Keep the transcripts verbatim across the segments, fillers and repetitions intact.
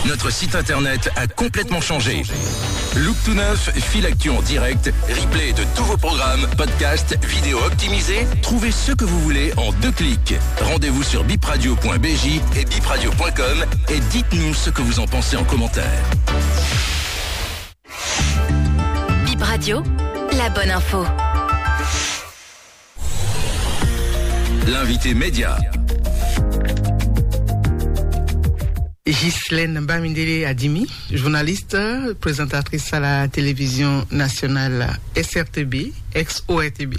Notre site internet a complètement changé. Look tout neuf, fil actu en direct, replay de tous vos programmes, podcasts, vidéos optimisées. Trouvez ce que vous voulez en deux clics. Rendez-vous sur bipradio point b j et bipradio point com et dites-nous ce que vous en pensez en commentaire. Bip Radio, la bonne info. L'invité média. Ghislaine Bamidele Adimi, journaliste, présentatrice à la télévision nationale S R T B, ex-O R T B.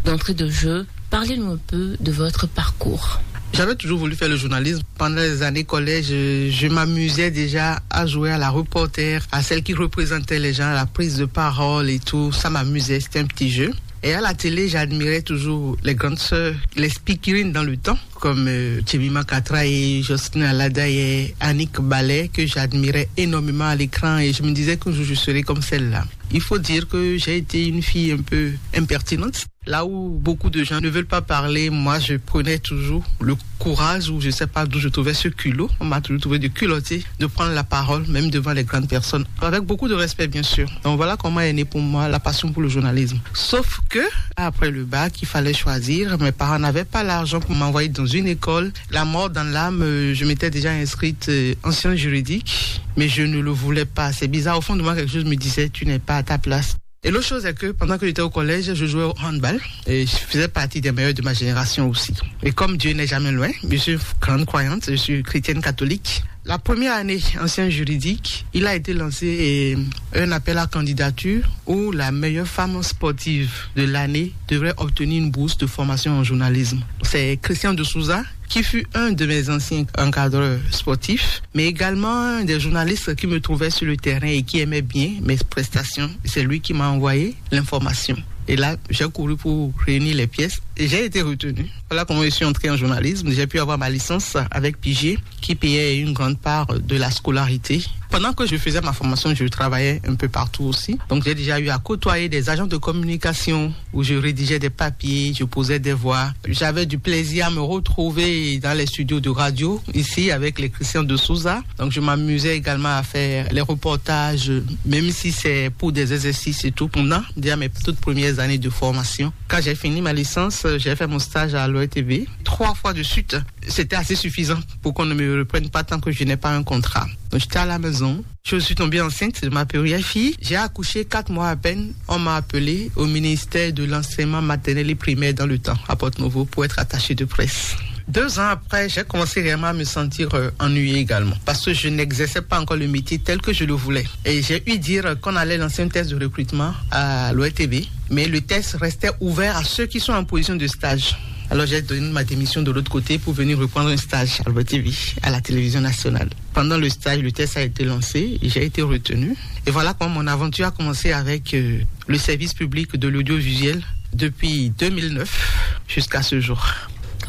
D'entrée de jeu, parlez-nous un peu de votre parcours. J'avais toujours voulu faire le journalisme. Pendant les années collège, je, je m'amusais déjà à jouer à la reporter, à celle qui représentait les gens, à la prise de parole et tout. Ça m'amusait, c'était un petit jeu. Et à la télé, j'admirais toujours les grandes sœurs, les speakerines dans le temps, comme euh, Jemima Katra et Jocelyne Aladaye, Annick Ballet, que j'admirais énormément à l'écran. Et je me disais qu'un jour, je serai comme celle-là. Il faut dire que j'ai été une fille un peu impertinente. Là où beaucoup de gens ne veulent pas parler, moi je prenais toujours le courage, ou je sais pas d'où je trouvais ce culot. On m'a toujours trouvé de culotté de prendre la parole, même devant les grandes personnes, avec beaucoup de respect, bien sûr. Donc voilà comment est née pour moi la passion pour le journalisme. Sauf que, après le bac, il fallait choisir. Mes parents n'avaient pas l'argent pour m'envoyer dans une école. La mort dans l'âme, euh, je m'étais déjà inscrite euh, en sciences juridiques, mais je ne le voulais pas. C'est bizarre, au fond de moi, quelque chose me disait, tu n'es pas à ta place. Et l'autre chose, c'est que pendant que j'étais au collège, je jouais au handball et je faisais partie des meilleurs de ma génération aussi. Et comme Dieu n'est jamais loin, je suis grande croyante, je suis chrétienne catholique. La première année en sciences juridiques, il a été lancé euh, un appel à candidature où la meilleure femme sportive de l'année devrait obtenir une bourse de formation en journalisme. C'est Christian de Souza qui fut un de mes anciens encadreurs sportifs, mais également un des journalistes qui me trouvait sur le terrain et qui aimait bien mes prestations. C'est lui qui m'a envoyé l'information. Et là, j'ai couru pour réunir les pièces et j'ai été retenu. Voilà comment je suis entré en journalisme. J'ai pu avoir ma licence avec Pigier, qui payait une grande part de la scolarité. Pendant que je faisais ma formation, je travaillais un peu partout aussi. Donc, j'ai déjà eu à côtoyer des agents de communication où je rédigeais des papiers, je posais des voix. J'avais du plaisir à me retrouver dans les studios de radio, ici, avec les Christian de Souza. Donc, je m'amusais également à faire les reportages, même si c'est pour des exercices et tout, pendant déjà mes toutes premières années de formation. Quand j'ai fini ma licence, j'ai fait mon stage à l'O R T V trois fois de suite. C'était assez suffisant pour qu'on ne me reprenne pas tant que je n'ai pas un contrat. Donc, j'étais à la maison. Je suis tombée enceinte de ma première fille. J'ai accouché quatre mois à peine. On m'a appelé au ministère de l'enseignement maternel et primaire dans le temps, à Porto Novo, pour être attachée de presse. Deux ans après, j'ai commencé réellement à me sentir euh, ennuyée également, parce que je n'exerçais pas encore le métier tel que je le voulais. Et j'ai eu dire qu'on allait lancer un test de recrutement à l'O R T V, mais le test restait ouvert à ceux qui sont en position de stage. Alors j'ai donné ma démission de l'autre côté pour venir reprendre un stage à l'O R T V, à la télévision nationale. Pendant le stage, le test a été lancé et j'ai été retenu. Et voilà comment mon aventure a commencé avec euh, le service public de l'audiovisuel depuis deux mille neuf jusqu'à ce jour.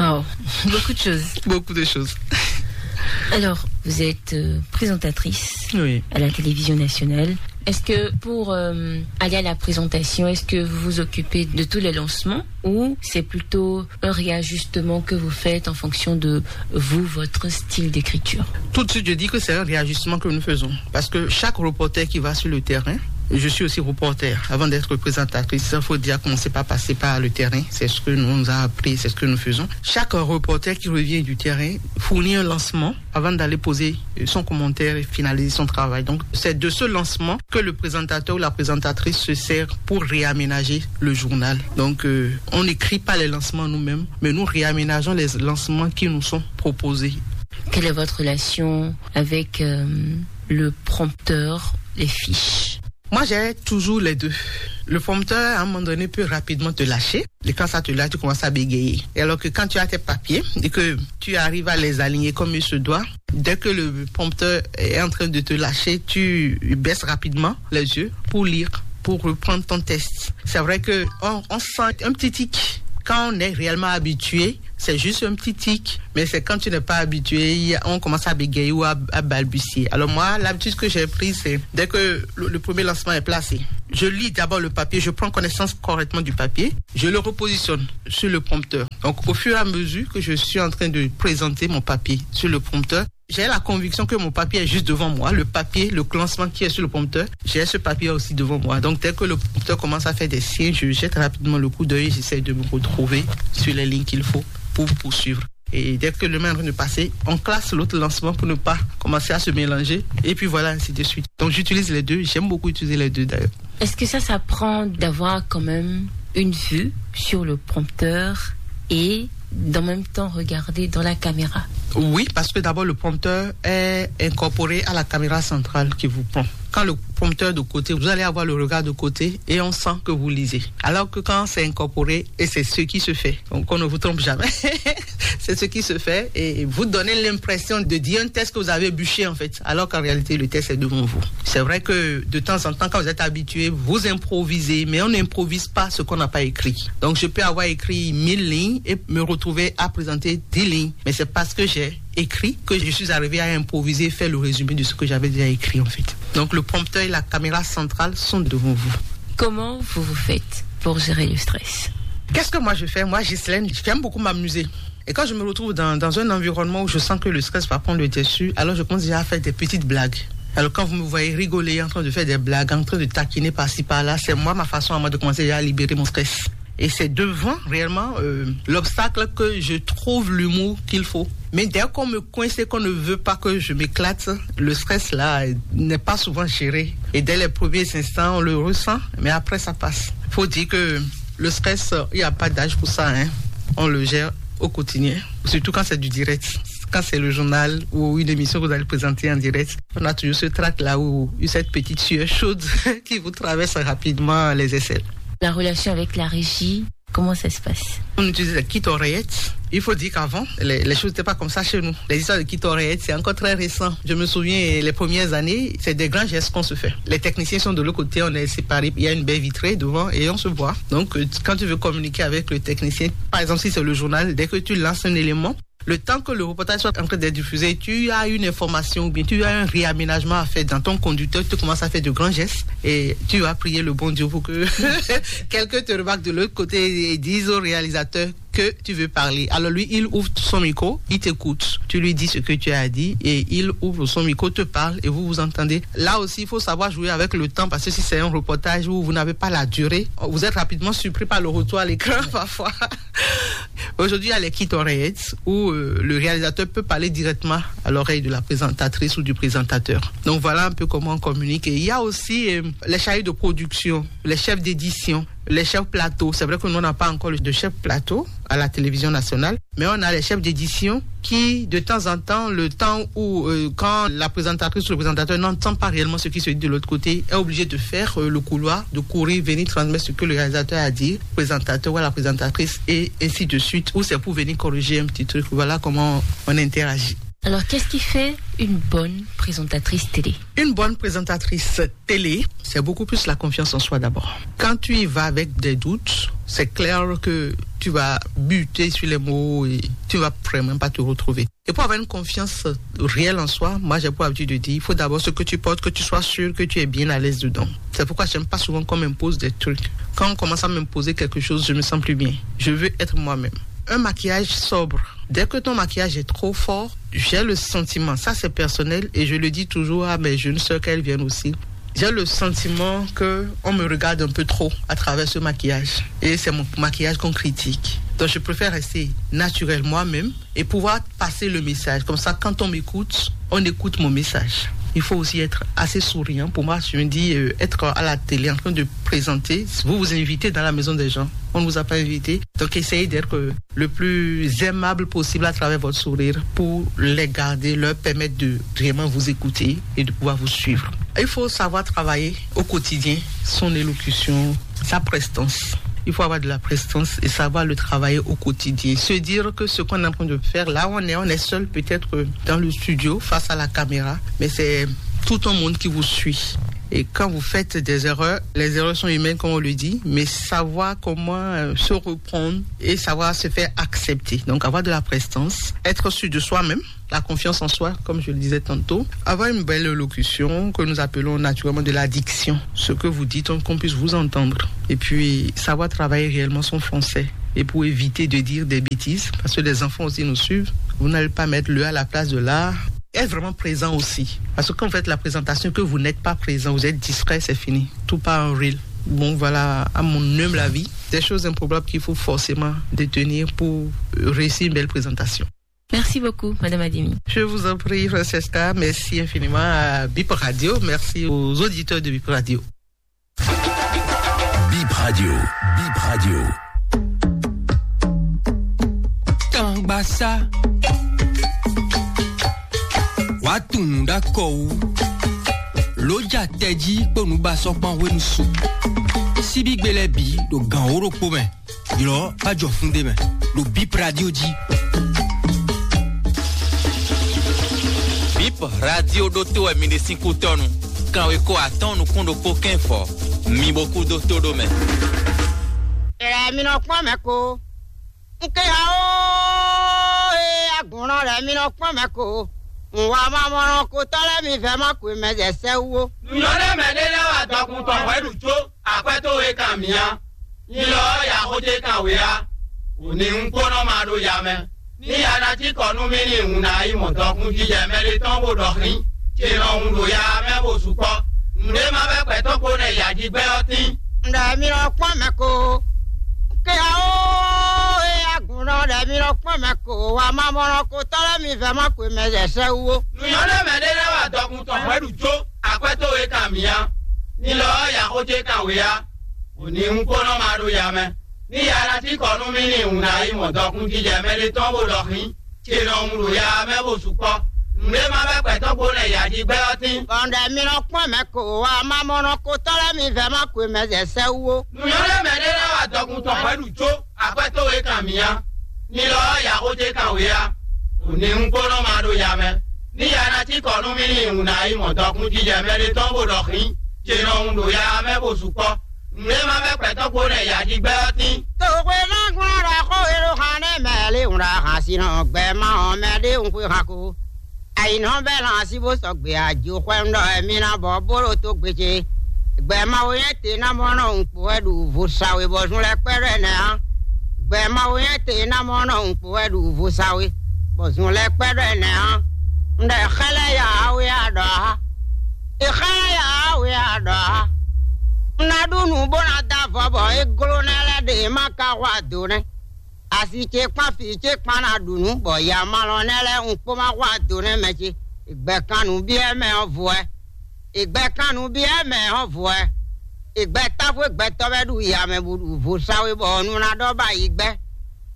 Oh, beaucoup de choses. Beaucoup de choses. Alors, vous êtes euh, présentatrice Oui. à la télévision nationale. Est-ce que pour euh, aller à la présentation, est-ce que vous vous occupez de tous les lancements ou c'est plutôt un réajustement que vous faites en fonction de vous, votre style d'écriture ? Tout de suite, je dis que c'est un réajustement que nous faisons. Parce que chaque reporter qui va sur le terrain, je suis aussi reporter. Avant d'être présentatrice, il faut déjà commencer par passer par le terrain. C'est ce que nous, on nous a appris, c'est ce que nous faisons. Chaque reporter qui revient du terrain fournit un lancement avant d'aller poser son commentaire et finaliser son travail. Donc, c'est de ce lancement que le présentateur ou la présentatrice se sert pour réaménager le journal. Donc, euh, on n'écrit pas les lancements nous-mêmes, mais nous réaménageons les lancements qui nous sont proposés. Quelle est votre relation avec euh, le prompteur, les fiches ? Moi, j'ai toujours les deux. Le prompteur, à un moment donné, peut rapidement te lâcher. Et quand ça te lâche, tu commences à bégayer. Et alors que quand tu as tes papiers et que tu arrives à les aligner comme il se doit, dès que le prompteur est en train de te lâcher, tu baisses rapidement les yeux pour lire, pour reprendre ton test. C'est vrai que on, on sent un petit tic quand on est réellement habitué. C'est juste un petit tic, mais c'est quand tu n'es pas habitué, on commence à bégayer ou à, à balbutier. Alors moi, l'habitude que j'ai prise, c'est dès que le, le premier lancement est placé, je lis d'abord le papier, je prends connaissance correctement du papier, je le repositionne sur le prompteur. Donc au fur et à mesure que je suis en train de présenter mon papier sur le prompteur, J'ai la conviction que mon papier est juste devant moi, le papier, le classement qui est sur le prompteur, j'ai ce papier aussi devant moi. Donc dès que le prompteur commence à faire des signes, je jette rapidement le coup d'œil, j'essaie de me retrouver sur les lignes qu'il faut pour poursuivre. Et dès que le main est en train de passer, on classe l'autre lancement pour ne pas commencer à se mélanger. Et puis voilà, ainsi de suite. Donc j'utilise les deux, j'aime beaucoup utiliser les deux d'ailleurs. Est-ce que ça s'apprend d'avoir quand même une vue sur le prompteur et d'en même temps regarder dans la caméra? Oui, parce que d'abord le prompteur est incorporé à la caméra centrale qui vous prend. Quand le prompteur de côté, vous allez avoir le regard de côté et on sent que vous lisez. Alors que quand c'est incorporé, et c'est ce qui se fait, donc on ne vous trompe jamais, c'est ce qui se fait et vous donnez l'impression de dire un texte que vous avez bûché en fait, alors qu'en réalité le texte est devant vous. C'est vrai que de temps en temps, quand vous êtes habitué, vous improvisez, mais on n'improvise pas ce qu'on n'a pas écrit. Donc je peux avoir écrit mille lignes et me retrouver à présenter dix lignes, mais c'est parce que j'ai écrit que je suis arrivé à improviser et faire le résumé de ce que j'avais déjà écrit en fait. Donc le prompteur et la caméra centrale sont devant vous. Comment vous vous faites pour gérer le stress? Qu'est-ce que moi je fais? Moi, Ghislaine, j'aime beaucoup m'amuser. Et quand je me retrouve dans, dans un environnement où je sens que le stress va prendre le dessus, alors je commence déjà à faire des petites blagues. Alors quand vous me voyez rigoler, en train de faire des blagues, en train de taquiner par-ci par-là, c'est moi ma façon à moi de commencer déjà à libérer mon stress. Et c'est devant réellement euh, l'obstacle que je trouve l'humour qu'il faut. Mais dès qu'on me coince et qu'on ne veut pas que je m'éclate, le stress là n'est pas souvent géré. Et dès les premiers instants, on le ressent, mais après ça passe. Faut dire que le stress, il n'y a pas d'âge pour ça, hein. On le gère au quotidien, surtout quand c'est du direct. Quand c'est le journal ou une émission que vous allez présenter en direct, on a toujours ce trac-là ou cette petite sueur chaude qui vous traverse rapidement les aisselles. La relation avec la régie, comment ça se passe? On utilise la kit oreillette. Il faut dire qu'avant, les, les choses n'étaient pas comme ça chez nous. Les histoires de kit oreillette, c'est encore très récent. Je me souviens, les premières années, c'est des grands gestes qu'on se fait. Les techniciens sont de l'autre côté, on est séparés. Il y a une baie vitrée devant et on se voit. Donc, euh, quand tu veux communiquer avec le technicien, par exemple, si c'est le journal, dès que tu lances un élément, le temps que le reportage soit en train d'être diffusé, tu as une information ou bien tu as un réaménagement à faire dans ton conducteur, tu commences à faire de grands gestes et tu vas prier le bon Dieu pour que quelqu'un te remarque de l'autre côté et dise au réalisateur que tu veux parler. Alors lui, il ouvre son micro, il t'écoute. Tu lui dis ce que tu as à dire et il ouvre son micro, te parle et vous vous entendez. Là aussi, il faut savoir jouer avec le temps parce que si c'est un reportage où vous n'avez pas la durée, vous êtes rapidement surpris par le retour à l'écran parfois. Aujourd'hui, il y a les kits oreillettes où euh, le réalisateur peut parler directement à l'oreille de la présentatrice ou du présentateur. Donc voilà un peu comment on communique. Et il y a aussi euh, les chargés de production, les chefs d'édition, les chefs plateaux. C'est vrai que nous, on n'a pas encore de chef plateau à la télévision nationale, mais on a les chefs d'édition qui, de temps en temps, le temps où, euh, quand la présentatrice ou le présentateur n'entend pas réellement ce qui se dit de l'autre côté, est obligé de faire euh, le couloir, de courir, venir transmettre ce que le réalisateur a dit, présentateur ou à la présentatrice, et ainsi de suite, ou c'est pour venir corriger un petit truc. Voilà comment on interagit. Alors, qu'est-ce qui fait une bonne présentatrice télé? Une bonne présentatrice télé, c'est beaucoup plus la confiance en soi d'abord. Quand tu y vas avec des doutes, c'est clair que tu vas buter sur les mots et tu vas vraiment pas te retrouver. Et pour avoir une confiance réelle en soi, moi j'ai pour habitude de dire, il faut d'abord ce que tu portes, que tu sois sûr que tu es bien à l'aise dedans. C'est pourquoi j'aime pas souvent qu'on m'impose des trucs. Quand on commence à m'imposer quelque chose, je me sens plus bien. Je veux être moi-même. Un maquillage sobre. Dès que ton maquillage est trop fort, j'ai le sentiment, ça c'est personnel et je le dis toujours à mes jeunes sœurs qu'elles viennent aussi. J'ai le sentiment que on me regarde un peu trop à travers ce maquillage. Et c'est mon maquillage qu'on critique. Donc je préfère rester naturelle moi-même et pouvoir passer le message. Comme ça, quand on m'écoute, on écoute mon message. Il faut aussi être assez souriant. Pour moi, je me dis, euh, être à la télé en train de présenter, vous vous invitez dans la maison des gens. On ne vous a pas invité. Donc essayez d'être euh, le plus aimable possible à travers votre sourire pour les garder, leur permettre de vraiment vous écouter et de pouvoir vous suivre. Il faut savoir travailler au quotidien son élocution, sa prestance. Il faut avoir de la prestance et savoir le travailler au quotidien. Se dire que ce qu'on est en train de faire, là où on est, on est seul peut-être dans le studio face à la caméra, mais c'est tout un monde qui vous suit. Et quand vous faites des erreurs, les erreurs sont humaines, comme on le dit, mais savoir comment euh, se reprendre et savoir se faire accepter. Donc avoir de la prestance, être sûr de soi-même, la confiance en soi, comme je le disais tantôt, avoir une belle élocution que nous appelons naturellement de la diction. Ce que vous dites, on- qu'on puisse vous entendre. Et puis savoir travailler réellement son français. Et pour éviter de dire des bêtises, parce que les enfants aussi nous suivent, vous n'allez pas mettre le à la place de la. Être vraiment présent aussi. Parce que quand vous faites la présentation, que vous n'êtes pas présent, vous êtes distrait, c'est fini. Tout part en reel. Bon, voilà, à mon humble avis, des choses improbables qu'il faut forcément détenir pour réussir une belle présentation. Merci beaucoup, Madame Adimi. Je vous en prie, Francesca. Merci infiniment à Bip Radio. Merci aux auditeurs de Bip Radio. Bip Radio. Bip Radio. Tangbasa. Wàá tunwun ɖó akɔ wú. Lǒ ja tɛjí kpó nǔbasɔ́kpan hwenu su. Síbígbe lɛ́ɛ bǐ ɖo gǎn wó ɖokpó mɛ. Ylɔ̌ bá jɔ fún ɖé mɛ ɖo Bip Radio jí. Bip Radio ɖótó wɛ mi ɖe sín kútɔ́nu. Kanweko atɔ́ɔ́n nukún ɖokpó kɛ́n fɔ. Mi bo kú dó tó ɖó mɛ. Ylɛ mi nɔ kpɔ́n mɛ ko. N ke ya ó, e agunlɔ lɛ mi nɔ kpɔ́n mɛ ko. N wa ma mɔ nɔ ko tɔ́ lɛ́ɛ mi vɛ ma ko mɛ zɛ sɛ wú ó. Nǔnyɔ́ ɖé mɛ ɖé lɛ́ wá dɔkun tɔn hwɛ̌ ɖu có, akwɛ́ towe kan mǐ á. Nyi lɔ ɔ́, ya xó ce kan wě á. Wǔ ní un kpó nɔ ma ɖo ya mɛ. Ní ya ná cí kɔ nú mì ní un ná yi mɔ dɔkun jijɛ mɛ ɖé tɔn bó ɖɔ xín, ce nɔ hun ɖo ya mɛ bó sukpɔ́. Nǔɖé ma bɛ́ gbɛ̌tɔ́ kpo nɛ ya jí gbɛ ɔ́ tín. Ɖɛ mi nɔ kpɔ́n mɛ ko. Ke ya ó, e agun nɔ ɖɛ mi nɔ kpɔ́n mɛ ko. Wa ma mɔ nɔ ko tɔ́ lɛ́ɛ mi vɛ ma ko mɛ zɛ sɛ wú ó. Nǔnyɔ́ ɖé mɛ ɖé lɛ́ wá dɔkun tɔn hwɛ̌ ɖu có, akwɛ́ towe kan mǐ á. Ní lɔ ɔ́, ya xó ce kan wě á. Wǒ ní un kpó nɔ ma ɖo ya mɛ. Ní ya ná cí kɔ nú mì ní un ná yi mɔ dɔkun jijɛ mɛ ɖé tɔn bó ɖɔ xín, ce nɔ un ɖo ya mɛ bó sukpɔ́. Nǔɖé ma bɛ́ gbɛ̌tɔ́ kpo nɛ ya jí gbɛ ɔ́ tín. Bɔn ɖɛ mi nɔ kpɔ́n mɛ ko wa ma mɔ nɔ ko tɔ́ lɛ́ɛ mi vɛ ma ko mɛ zɛ sɛ wú ó. Nǔnyɔ́ ɖé mɛ ɖé lɛ́ wá dɔkun tɔn hwɛ̌ ɖu có, akwɛ́ towe kan mǐ á. Ní lɔ ɔ́, ya xó ce kan wě á. Wǒ ní un kpó nɔ ma ɖo ya mɛ. Ní ya ná cí kɔ nú mì ní un ná yi mɔ dɔkun jijɛ mɛ ɖé tɔn bó ɖɔ xín, ce nɔ un ɖo ya mɛ bó sukpɔ́. Nǔɖé ma bɛ́ gbɛ̌tɔ́ kpo nɛ ya jí gbɛ ɔ́ tín. Toxwe ná gblɔ́n ɖɔ xó e ɖo xan nɛ́ mɛ lé un ɖo ahan sin nɔ gbɛ ma ɔ́ mɛ ɖé un xwe han ko. Ayǐnɔ bɛ́ lan así bó sɔgbe ajo xwɛ un ɖɔ wɛ mi ná bɔ bó ɖo tó gbe ce. Gbɛ Mawu nyɛ te ná mɔ nɔ un kpo wɛ ɖu vo sa we bɔ zun lɛ́ kpɛ́ ɖɔ ɛnɛ ǎ. Gbɛ Mawu nyɛ te ná mɔ nɔ un kpo wɛ ɖu vo sa we bɔ zun lɛ́ kpɛ́ ɖɔ ɛnɛ ǎ. Un ɖɔ xɛ́ lɛ́ ya awe a ɖɔ ǎ. È xá ya we a ɖɔ á. Un ná ɖu nǔ bó ná dó avɔ bɔ é gló nɛ́ lɛ́ɛ ɖe ma ka xwa do nɛ́. Asi ce kpán fǐ ce kpán ná ɖu nǔ bɔ yamalɔ nɛ́ lɛ́ɛ un kpó ma xwa do nɛ́ mɛ ce. Ìgbɛkannú byɔ́ mɛ ɔ́ vo wɛ. Ìgbɛkannú byɔ́ mɛ ɔ́ vo wɛ. Ìgbɛtáfó gbɛtɔ́ wɛ ɖu ya mɛ bó ɖu vo sa we bɔ nu ná ɖɔ ba yi gbɛ.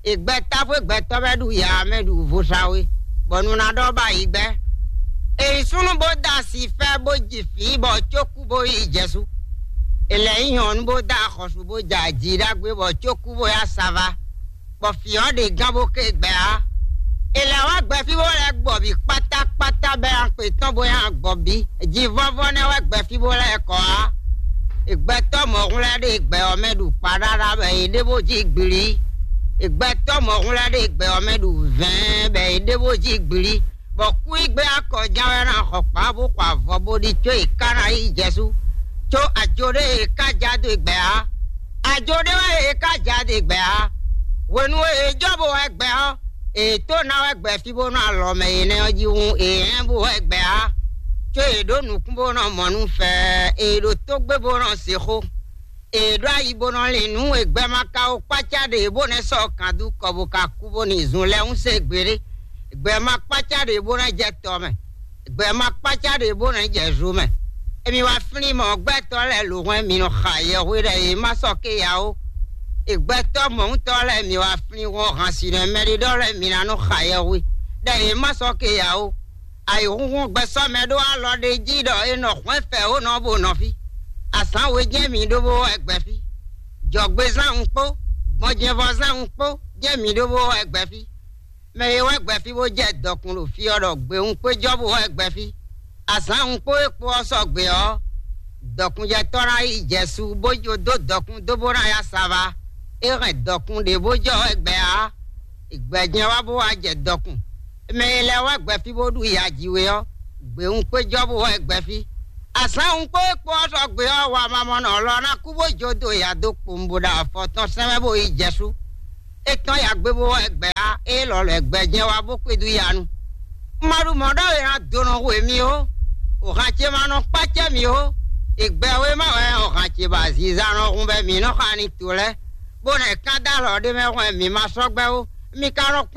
Ìgbɛtáfó gbɛtɔ́ wɛ ɖu ya mɛ ɖu vo sa we bɔ nu ná ɖɔ ba yi gbɛ. Èyí súnú bó dó asi fɛ bó ji fǐ bɔ cókú bó yi jɛsu. Èlɛ nyí nyɔ̌nu bó dó axɔ́sú bó ja jǐ ɖagbe bɔ cókú bó yá sava. Bɔ fǐ ɔ́ ɖe gán bó ké gbɛ á. È lɛ̌ wá gbɛfí bó lɛ́ gbɔ bǐ kpátákpátá bɛ́ axwé tɔn bó nyi agbɔ̌ bí. Jivɔ́vɔ́ nɛ́ wɛ gbɛfí bó lɛ́ kɔ á. Gbɛtɔ́ mɔ̌hun lɛ́ɛ ɖe gbɛ ɔ́ mɛ ɖu kpaɖáɖá bɔ è ɖe bó jí gblí. Gbɛtɔ́ mɔ̌hun lɛ́ɛ ɖe gbɛ ɔ́ mɛ ɖu vɛ̌ɛn bɔ è ɖe bó jí gblí. Bɔ kú yi gbé akɔján wɛ ná xɔ kpá bó xɔ avɔ bó ɖi có è ká ná yi jɛsú. Có ajo ɖé è ká ja dó gbɛ á. Ajo ɖé wɛ è ká ja dó gbɛ á. Hwenu e è jɔ bó wɛ gbɛ ɔ́, è tó ná wɛ gbɛ fí bó nɔ alɔ mɛ énɛ́ ɔ́ jí hun è hɛn bó wɛ gbɛ á. Có è ɖǒ nukún bó nɔ mɔ nú fɛ, è ɖo tó gbé bó nɔ se xó. È ɖó ayi bó nɔ lin nǔ e gbɛ ma ka wo kpácá ɖe bó nɛ́ sɔ́ kan dú kɔ bó ka kú bó ní zun lɛ́ hún se gbeɖé. Gbɛ ma kpácá ɖe bó nɛ́ jɛ tɔ mɛ. Gbɛ ma kpácá ɖe bó nɛ́ jɛ zo mɛ. Emi wá flín mɔ gbɛtɔ́ lɛ́ɛ lǒ hwɛ́n mi nɔ xa yɛhwe ɖɛ yě ma sɔ́ ké ya ó. È gbɛtɔ́ mɔ̌huntɔ́ lɛ́ɛ mi wá flín hɔn han si nɔ mɛɖeɖɔ lɛ́ɛ mi ná nɔ xa yɛhwe ɖɛ yě ma sɔ́ ké ya ó. Ayǐhúnhún gbɛsɔ́ mɛ ɖó alɔ ɖé jí ɖɔ è nɔ hwɛ́n fɛ ó nɔ bó nɔ fí. Azǎn we jɛ́n mi ɖó bó wɛ gbɛ fí. Jɔ̌gbezán un kpó, gbɔjɛvɔzán un kpó jɛ́n mi ɖó bó wɛ gbɛ fí. Mɛ e wɛ gbɛ fí bó jɛ dɔkun ɖo fí ɔ́ ɖɔ gbe un kpé jɔ bó wɛ gbɛ fí. Azǎn un kpó e kpó ɔ́ sɔgbe ɔ́, dɔkunjɛtɔ́ ná yi jɛ su bó jó dó dɔkun dó bó ná ya sava. É hɛn dɔkun ɖě bó jɔ wɛ gbɛ ǎ. Gbɛjɛ́n wá bó wá jɛ dɔkun. Mɛ e lɛ́ wá gbɛ fí bó ɖu ya jí we ɔ́, gbě un kpé jɔ bó wá gbɛ fí. Azǎn un kpó e kpó ɔ́ sɔgbe ɔ́, wa mamɔnɔ lɔ ná kú bó jó do ya dó kpowun bó ɖo afɔ tɔn sɛn mɛ bó yi jɛ sú. É tɔ́n ya gbé bó wá gbɛ á, é lɔ lɔ gbɛjɛ́n wá bó kpé dú ya nu. Ma ɖu mɔ̌ ɖɔ è nɔ do nɔ hu mì ó. Òhan ce ma nɔ kpácɛ́ mì ó. Ìgbɛwé ma wɛ òhan ce ba zizan nɔ hun bɛ mǐ nɔ xa ni to lɛ́ɛ, bó nɔ kán dó alɔ ɖé mɛ hwɛ́n mǐ ma sɔ́ gbɛ́ ó. Mi ka nɔ kpɔ́n